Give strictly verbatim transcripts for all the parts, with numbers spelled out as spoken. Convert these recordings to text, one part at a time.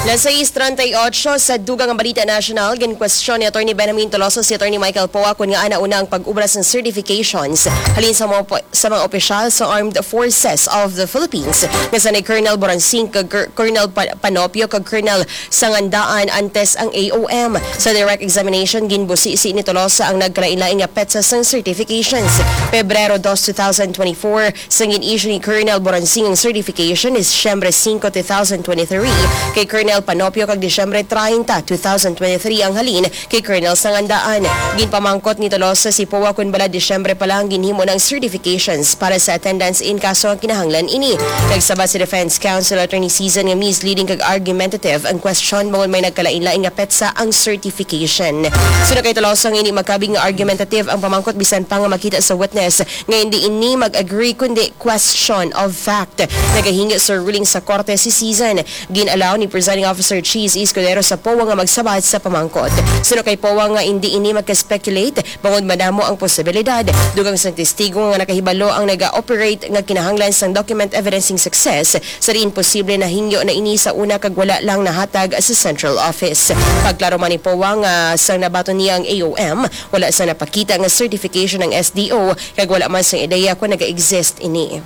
Las sais treinta y ocho sa dugang nga balita nasyonal, ginkwestiyon ni Attorney Benjamin Tolosa si Attorney Michael Poa kon ngaa nauna ang pag-obra sang certifications halin sa mga opo-, sa mga opisyal sa Armed Forces of the Philippines, nga sanay Colonel Boransing kag Col-, Colonel Pa-, Panopio kag Colonel Sangandaan antes ang A O M. Sa direct examination, ginbusisi ni Tolosa ang nagkalainlain nga petsa sang certifications. Pebrero dos, two thousand twenty-four, sang gin-issue ni Colonel Boransing ang certification is Disyembre singko, two thousand twenty-three, kay Colonel Panopio, kag Disyembre treinta, two thousand twenty-three ang halin kay Colonel Sangandaan. Ginpamangkot ni Tolosa si Poa kon bala Disyembre pa lang ginhimo na ang certifications para sa attendance in kaso nga kinahanglan ini. Nagsabat si Defense Counsel Attorney Season nga misleading kag argumentative ang question bangod may nagkalainlain nga petsa ang certification. Suno kay Tolosa nga hindi makabig nga argumentative ang pamangkot bisan pa nga makita sa witness nga hindi ini mag-agree kundi question of fact. Nagahingyo sa ruling sa korte si Season. Gin-allow ni Presiding Officer Cheese Escudero sa Poa nga magsabat sa pamangkot. Suno kay Poa nga hindi ini magka-speculate bangod madamo ang posibilidad. Dugang sang testigo nga nakahibalo ang naga-operate nga kinahanglan sang document evidencing success, sa diin posible nahingyo na ini sa una kag wala lang nahatag sa central office. Pagklaro man ni Poa nga sang nabaton niya ang A O M, wala sa napakita nga certification ang S D O, kag wala man sang ideya kon naga-exist ini.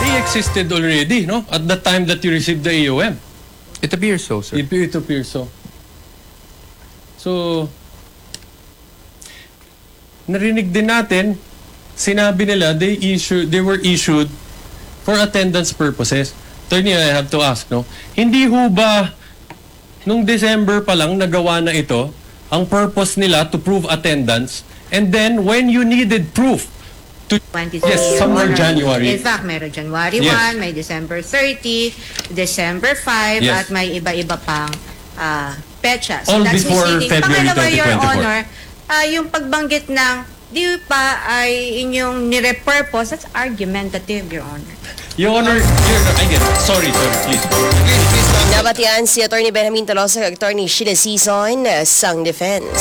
They existed already, no? At the time that you received the A O M. It appears so, sir. It, it appears so. So, narinig din natin, sinabi nila they issued, they were issued for attendance purposes. Attorney, I have to ask, no? Hindi ho ba nung December pa lang nagawa na ito, ang purpose nila to prove attendance, and then when you needed proof to twenty Yes, somewhere January. In fact, meron January Yes. one, may December thirty, December five, Yes. At may iba-iba pang ah, petsa. All That's before misleading. February Pangalawa, Your twenty twenty-four. Honor, ah, yung pagbanggit ng di pa ay inyong nirepurpose, that's argumentative, Your Honor. Your Honor, Your Honor, again, sorry, sorry, please. Nabatian si Attorney Benjamin Tolosa kag Attorney Sheila Sison sang defense.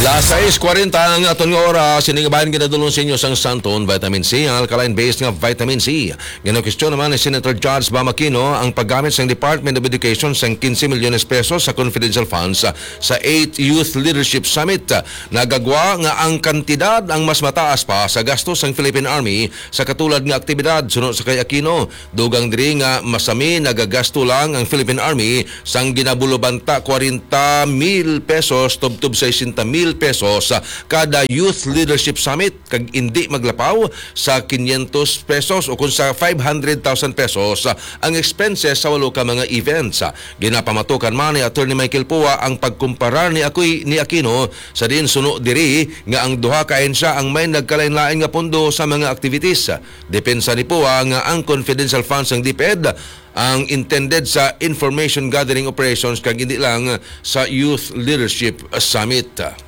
Las sais kwarenta ang aton nga oras. Sining bayan ginadulong sa inyo sang Santon Vitamin C, ang alkaline base nga vitamin C. Ginakwestiyon naman ni Senator Judge Bam Aquino ang paggamit sang Department of Education sang quince milyones pesos sa confidential funds sa eighth Youth Leadership Summit. Nagagwa nga ang kantidad ang mas mataas pa sa gasto sang Philippine Army sa katulad nga aktibidad, suno sa kay Aquino. Dugang diri nga masami nagagasto lang ang Philippine Army sang ginabulubanta kwarenta mil pesos tubtob sesenta mil pesos kada Youth Leadership Summit, kag indi maglapaw sa quinientos pesos o kung sa five hundred thousand pesos ang expenses sa walo ka mga events. Ginapamatukan man ni Attorney Michael Poa ang pagkumparar ni Akoy-, ni Aquino sa diin suno diri nga ang duha ka ahensya ang may nagkalain-lain nga pondo sa mga activities. Depensa ni Poa nga ang confidential funds sang DepEd ang intended sa information gathering operations kag hindi lang sa Youth Leadership Summit.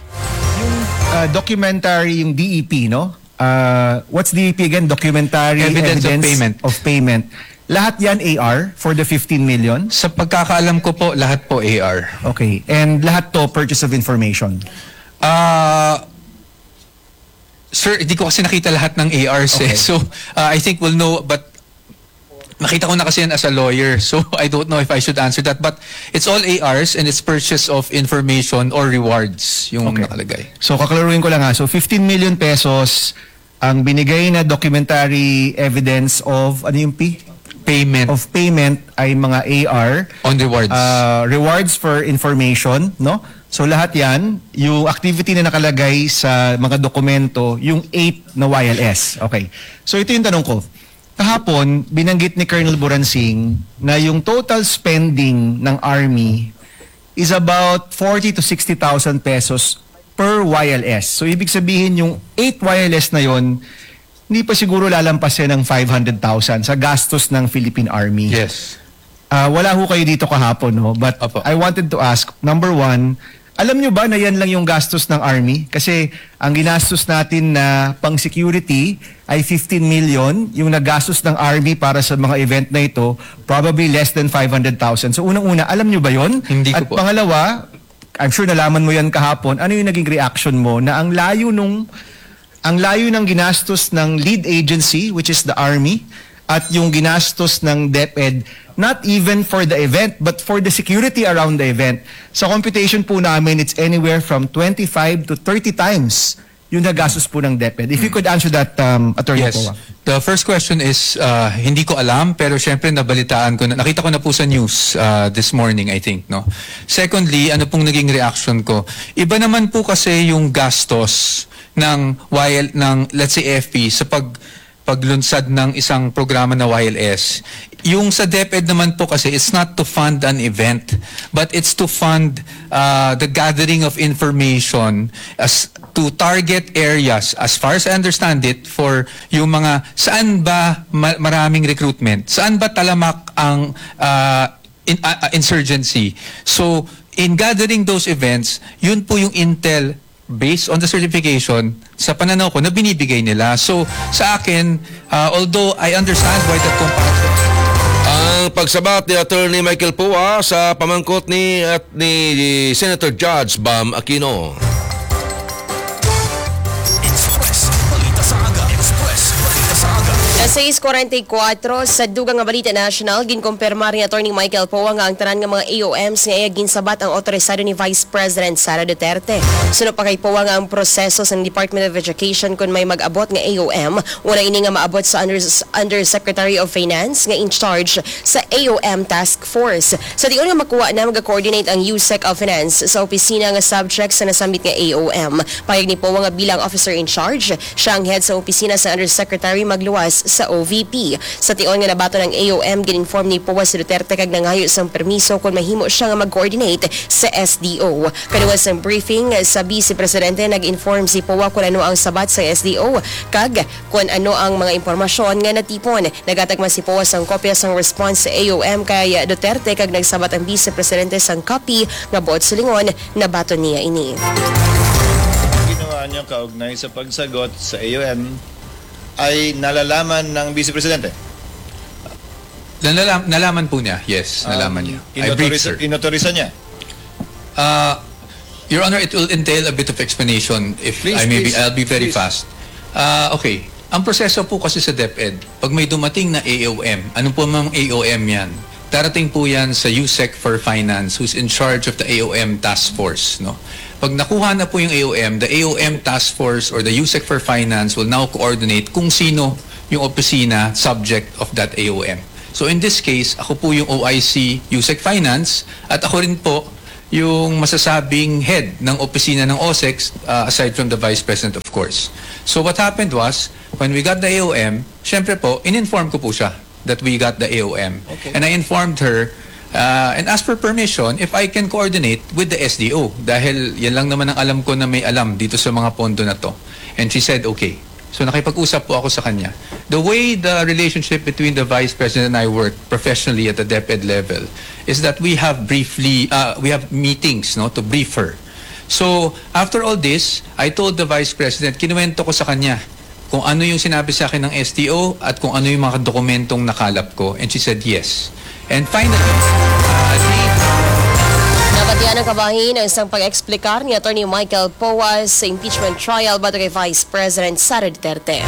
Yung uh, documentary, yung D E P, no? Uh, what's D E P again? Documentary Evidence of evidence payment. of payment. Lahat yan A R for the fifteen million? Sa pagkakaalam ko po, lahat po A R. Okay. And lahat to purchase of information? Ah, sir, hindi ko kasi nakita lahat ng A Rs eh. Okay. So, ah, I think we'll know, but nakita ko na kasi yan as a lawyer. So, I don't know if I should answer that. But it's all A Rs and it's purchase of information or rewards yung Okay. nakalagay. So, kaklaruhin ko lang ha. So, fifteen million pesos ang binigay na documentary evidence of, ano yung P? Payment Of payment ay mga A R. on rewards. Uh, rewards for information, no? So lahat yan, yung activity na nakalagay sa mga dokumento, yung eight na Y L S. Okay. So ito yung tanong ko. Kahapon, binanggit ni Colonel Buransing na yung total spending ng Army is about forty to sixty thousand pesos per Y L S. So ibig sabihin yung eight Y L S na yon, hindi pa siguro lalampasin ng five hundred thousand sa gastos ng Philippine Army. Yes. Ah, wala ho kayo dito kahapon, no? But Opo. I wanted to ask, number one, alam nyo ba na yan lang yung gastos ng Army? Kasi ang ginastos natin na pang security ay fifteen million. Yung nagastos ng Army para sa mga event na ito, probably less than five hundred thousand. So unang-una, alam nyo ba yon? Hindi ko At po. Pangalawa, I'm sure nalaman mo yan kahapon, ano yung naging reaction mo na ang layo nung ang layo ng ginastos ng lead agency, which is the Army, at yung ginastos ng DepEd, not even for the event, but for the security around the event. Sa computation po namin, it's anywhere from twenty-five to thirty times yung nagastos po ng DepEd. If you could answer that, um, Attorney Yes. Poa. The first question is, uh, hindi ko alam, pero syempre nabalitaan ko na, nakita ko na po sa news uh, this morning, I think, no. Secondly, ano pong naging reaction ko? Iba naman po kasi yung gastos ng Y L, ng, let's say, A F P sa pag paglunsad ng isang programa na Y L S. Yung sa DepEd naman po kasi, it's not to fund an event, but it's to fund uh, the gathering of information as to target areas, as far as I understand it, for yung mga saan ba ma- maraming recruitment, saan ba talamak ang uh, in, uh, uh, insurgency. So, in gathering those events, yun po yung intel based on the certification sa pananaw ko na binibigay nila. So, sa akin, uh, although I understand why the comparison Ang pagsabat ni Attorney Michael Poa sa pamangkot ni at ni Senator Judge Bam Aquino. Express Balita sa Aga. Express Balita sa Aga. Sa sais kuwarenta y kuwatro, sa dugang nga balita national, ginkumpirmar ni Attorney Michael Poa nga ang tanan nga mga A O Ms nga iya ginsabat ang autorisado ni Vice President Sara Duterte. Suno pa kay Poa nga ang proseso sa Department of Education kon may mag-abot nga A O M, una ini nga maabot sa Under, Undersecretary of Finance nga in charge sa A O M Task Force. Sa tion nga makuha na, maga-coordinate ang USEC of Finance sa opisina nga subject sa nasambit nga A O M. Payag ni Poa nga bilang officer in charge, siya ang head sa opisina sa undersecretary magluwas sa O V P. Sa tion nga nabaton ang A O M, gin-inform ni Poa si Duterte kag nangayo sang permiso kon mahimo siya nga mag-coordinate sa S D O. Kaduol sang briefing sa Vice Presidente, nag-inform si Poa kon ano ang sabat sang S D O kag kon ano ang mga impormasyon nga natipon. Nagatag man si Poa sang kopya sang response sa A O M kay Duterte kag nagsabat ang Vice Presidente sang copy nga buot silingon nabaton niya ini. Ginawa niyo kaugnay sa pagsagot sa A O M ay nalalaman ng Vice Presidente? Nalam, nalaman po niya, yes, nalaman niya. I briefed her. Inotorisa niya? Uh, Your Honor, it will entail a bit of explanation if Please, I may be, please, I'll be very please. Fast. Uh, okay, ang proseso po kasi sa DepEd, pag may dumating na A O M, ano po mang A O M yan? Darating po yan sa USEC for Finance who's in charge of the A O M task force. No? Pag nakuha na po yung A O M, the A O M task force or the USEC for Finance will now coordinate kung sino yung opisina subject of that A O M. So in this case, ako po yung O I C USEC Finance at ako rin po yung masasabing head ng opisina ng OSEC, uh, aside from the Vice President, of course. So what happened was, when we got the A O M, syempre po, in-inform ko po siya that we got the A O M. Okay. And I informed her uh, and asked for permission if I can coordinate with the S D O. Dahil yan lang naman ang alam ko na may alam dito sa mga pondo na to. And she said, okay. So nakipag-usap po ako sa kanya. The way the relationship between the Vice President and I work professionally at the DepEd level is that we have briefly, uh, we have meetings, no, to brief her. So, after all this, I told the Vice President, kinuwento ko sa kanya kung ano yung sinabi sa akin ng S D O at kung ano yung mga dokumentong nakalap ko. And she said yes. And finally, uh, the Nabatian ang kabahin ang isang pag-explicar ni Attorney Michael Poa sa impeachment trial batok kay Vice President Sara Duterte.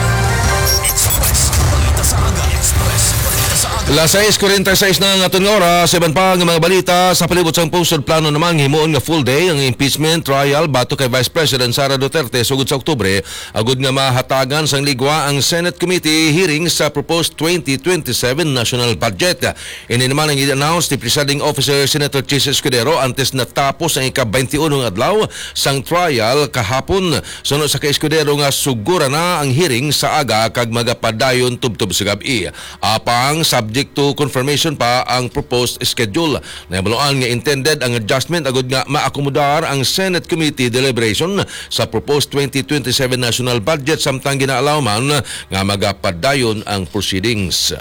Express Balita sa Aga. Express Balita sa Aga. Las sais kuwarenta y seis na ang aton nga oras. Sa iban pa nga mga balita sa palibot sang pungsod, plano namang himuon nga full day ang impeachment trial batok kay Vice President Sara Duterte sugod sa Oktubre, agud nga mahatagan sang ligwa ang Senate Committee hearing sa proposed twenty twenty-seven national budget. Ini naman ang i-announce ni Presiding Officer Senator Chiz Escudero antes natapos ang ika-twenty-one nga adlaw sang trial kahapon. Suno sa kay Escudero nga sugura na ang hearing sa aga kag magapadayon tubtob sa gab-i. Apang subject to confirmation pa ang proposed schedule. Nahibaluan nga intended ang adjustment agud nga maakomodar ang Senate Committee deliberation sa proposed twenty twenty-seven national budget, samtang ginaalaw man nga magapadayon ang proceedings.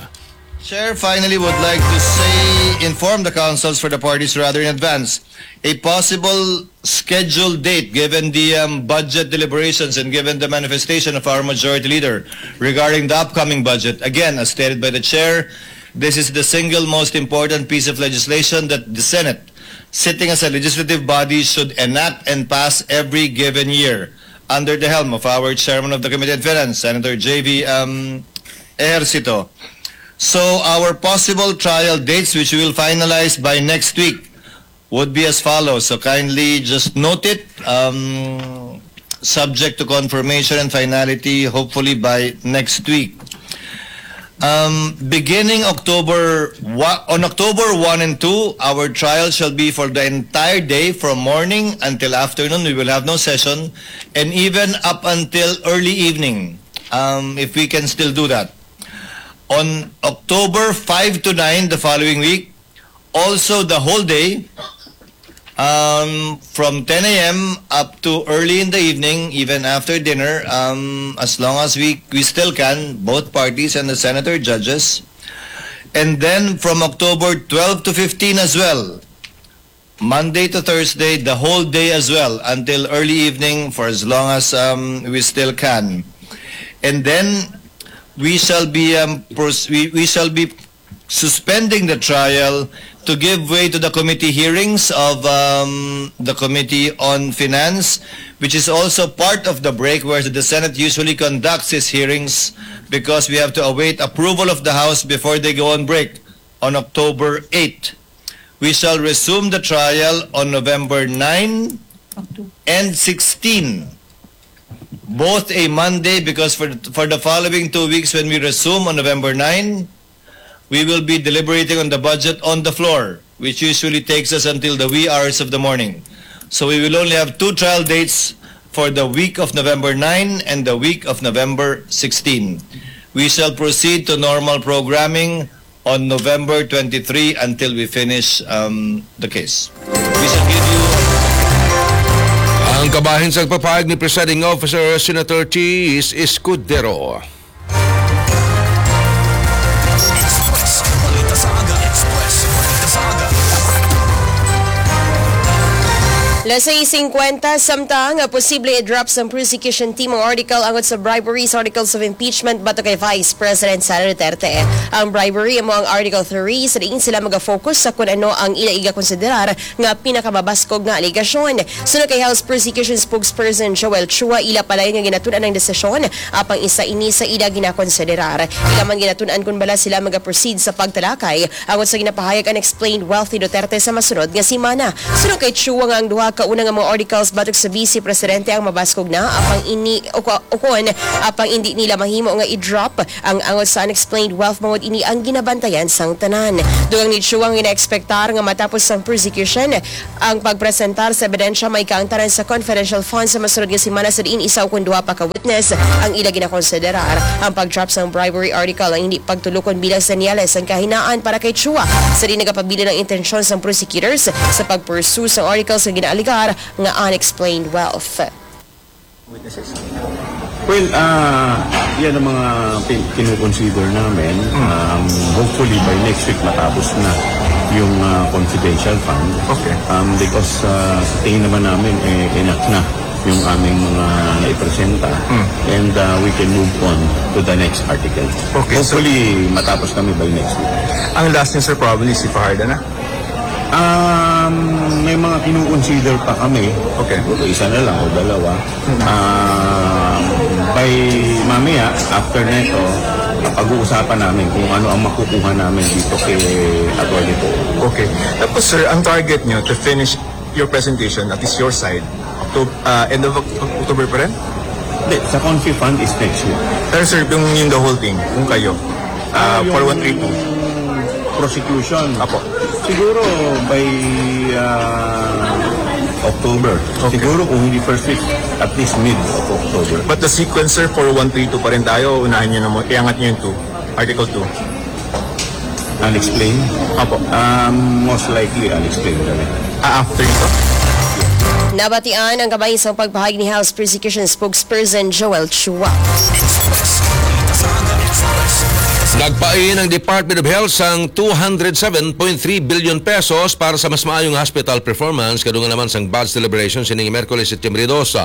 Chair, finally would like to say, inform the councils for the parties rather in advance. A possible scheduled date given the um, budget deliberations and given the manifestation of our majority leader regarding the upcoming budget. Again, as stated by the chair, this is the single most important piece of legislation that the Senate, sitting as a legislative body, should enact and pass every given year under the helm of our chairman of the Committee on Finance, Senator J V um, Ejercito. So our possible trial dates, which we will finalize by next week, would be as follows. So kindly just note it, um, subject to confirmation and finality, hopefully by next week. Um, beginning October, wa-, on October one and two, our trial shall be for the entire day, from morning until afternoon. We will have no session, and even up until early evening, um, if we can still do that. On October five to nine, the following week, also the whole day, um, from ten a m up to early in the evening, even after dinner, um, as long as we, we still can, both parties and the senator judges. And then from October twelve to fifteen as well, Monday to Thursday, the whole day as well, until early evening for as long as, um, we still can. And then we shall be, um, pros-, we, we shall be suspending the trial to give way to the committee hearings of, um, the Committee on Finance, which is also part of the break where the Senate usually conducts its hearings, because we have to await approval of the House before they go on break on October eighth. We shall resume the trial on November nine and sixteen, both a Monday, because for, for the following two weeks, when we resume on November nine, we will be deliberating on the budget on the floor, which usually takes us until the wee hours of the morning. So we will only have two trial dates for the week of November nine and the week of November sixteen. We shall proceed to normal programming on November twenty-three until we finish, um, the case. We shall give you Ang kabahin sa pagpahayag ni Presiding Officer Senator Cheese Escudero. Express, balita sa aga. Express, balita sa aga. Las sais singkwenta, samtang posible i-drop sang prosecution team ang article angot sa bribery sa articles of impeachment batok kay Vice President Sara Duterte. Ang bribery amo ang Article three, sa diin sila magafocus sa kun ano ang ila igakonsiderar nga pinakamabaskog nga alegasyon. Suno kay House Prosecution Spokesperson Joel Chua, ila padayon nga ginatun-an ang desisyon, apang isa ini sa ila ginakonsiderar. Ila man ginatun-an kon bala sila magaproceed sa pagtalakay angot sa ginapahayag unexplained wealth ni Duterte sa masunod nga semana. Suno kay Chua nga ang duha ka una nga mga articles batok sa Vice Presidente ang mabaskog na, apang ini uko-, ukon, apang indi nila mahimo nga i-drop ang angot sa unexplained wealth, bangod ini ang ginabantayan sang tanan. Dugang ni Chua nga ginaekspektar nga matapos sang prosecution ang pagpresentar sa ebidensya, maika ang tanan sa confidential funds sa masunod nga semana, sa diin isa ukon duha pa ka witness ang ila ginakonsiderar. Ang pag-drop sang bribery article ang hindi pagtulukon bilang senyales sang kahinaan para kay Chua, sa diin nagapabilin ang intensyon sang prosecutors sa pag-pursue sang article sa ginaalegar nga unexplained wealth. Well, ah, yan ang mga pin- kinukonsider namin. Um, hopefully by next week matapos na yung ah, confidential fund. Okay. Um, because ah, sa tingin naman namin, eh, enough na yung aming mga naipresenta. And ah, we can move on to the next article. Okay, so- Hopefully matapos kami by next week. Ang last niyo, sir, probably si Fajarda na? Um, may mga kinukonsider pa kami. Okay. Siguro isa na lang o dalawa. Ah, by mamaya, after nito, pag-uusapan namin kung ano ang makukuha namin dito kay Attorney Poe. Okay. Tapos, sir, ang target nyo to finish your presentation, at least your side, October, uh, end of Oct- October pa rin? Hindi, sa confi fund is next week. Pero, sir, yung, yung the whole thing, kung kayo, uh, Yung for one three two. Prosecution. Apo. Siguro by ah, October. Okay. Siguro kung hindi first week, at least mid of October. But the sequence, sir, for one three two pa rin tayo, unahin nyo na mo, iangat nyo yung two. Article two. Unexplained? Apo. Um, most likely unexplained kami. Ah, after ito? Nabatian ang kabahin sang pagpahayag ni House Prosecution Spokesperson Joel Chua. Nagpain ang Department of Health sang two hundred seven point three billion pesos para sa mas maayong hospital performance kadungan naman sang budget deliberation sining Miyerkules, Setyembre dos.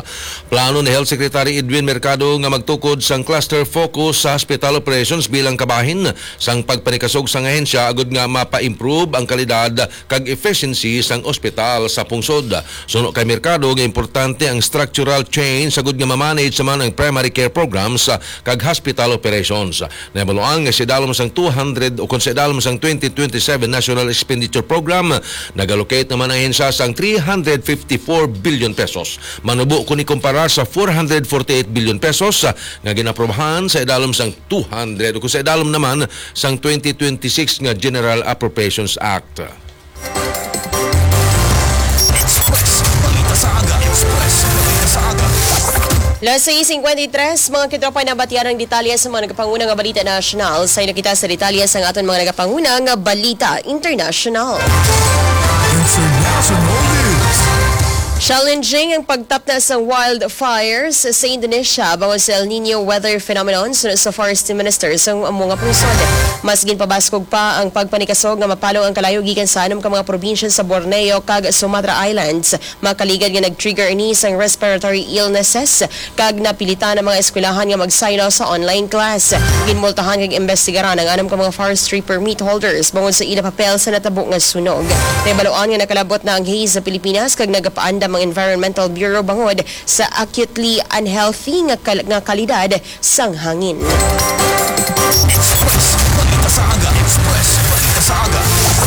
Plano ni Health Secretary Edwin Mercado nga magtukod sang cluster focus sa hospital operations bilang kabahin sang pagpanikasog sang ahensya agud nga mapa-improve ang kalidad kag efficiency sang ospital sa pungsod. Suno kay Mercado nga importante ang structural change sagud nga ma-manage naman ang primary care programs kag hospital operations. Nahibaluan nga si idalom sang two hundred o kon sa idalom sang twenty twenty-seven National Expenditure Program, nag-allocate naman ang ahensya sang three hundred fifty-four billion pesos. Manubo kini kumparar sa four hundred forty-eight billion pesos, ah, nga ginaprobahan sa idalom sang two hundred o kon sa idalom naman sang twenty twenty-six nga General Appropriations Act. Express Balita sa Aga. Express Balita sa Aga. Las sais cincuenta y tres, mga katropa, nabatian ang detalye sa mga nagapanguna nga balita nasyonal. Sa kita sa detalye sa aton mga nagapanguna nga balita internasyonal. International News. Challenging ang pagtapna sa wildfires sa Indonesia bangod sa El Nino weather phenomenon, suno sa Forest Minister sa amo nga pungsod. Mas ginpabaskog pa ang pagpanikasog nga mapalong ang kalayo gikan sa anom ka mga probinsya sa Borneo kag Sumatra Islands. Makaligad nga nag-trigger ini sang respiratory illnesses kag napilitan ang mga eskwelahan nga magsaylo sa online class. Ginmultahan kag imbestigaran ang anom ka mga forestry permit holders bangod sa ila papel sa natabo nga sunog. Nahibaluan nga nakalabot na ang haze sa Pilipinas kag nagapaandam ang Environmental Bureau bangod sa acutely unhealthy nga kal-, nga kalidad sang hangin. Express Balita sa Aga. Express Balita sa Aga.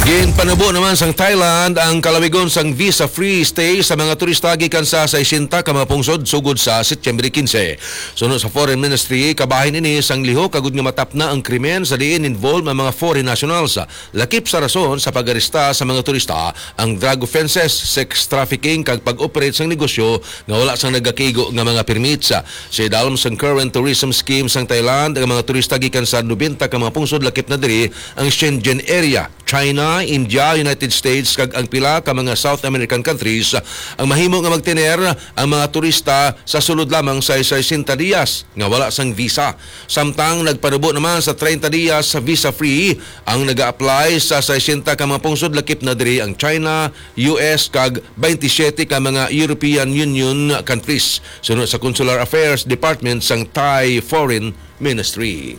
Ginpanubo naman sang Thailand ang kalawigon sang visa-free stay sa mga turista gikan sa sesenta ka mga pungsod sugod sa Setyembre quince. Suno sa Foreign Ministry, kabahin ini sang lihok agud nga matapna ang krimen sa diin involved ang mga foreign nationals. Lakip sa rason sa pag-aresta sa mga turista ang drug offenses, sex trafficking, kag pag-operate sang negosyo nga wala sang nagakigo nga mga permits. Sa idalom sang current tourism scheme sang Thailand, ang mga turista gikan sa nobenta ka mga pungsod lakip na diri ang Shenzhen area, China, India, United States, kag ang pila ka mga South American countries ang mahimo nga magtener ang mga turista sa sulod lamang sa sesenta dias nga wala sang visa. Samtang nagpanubo naman sa treinta dias sa visa-free ang naga-apply sa sesenta ka mga pungsod, lakip na diri ang China, U S, kag twenty-seven ka mga European Union countries, suno sa Consular Affairs Department sang Thai Foreign Ministry.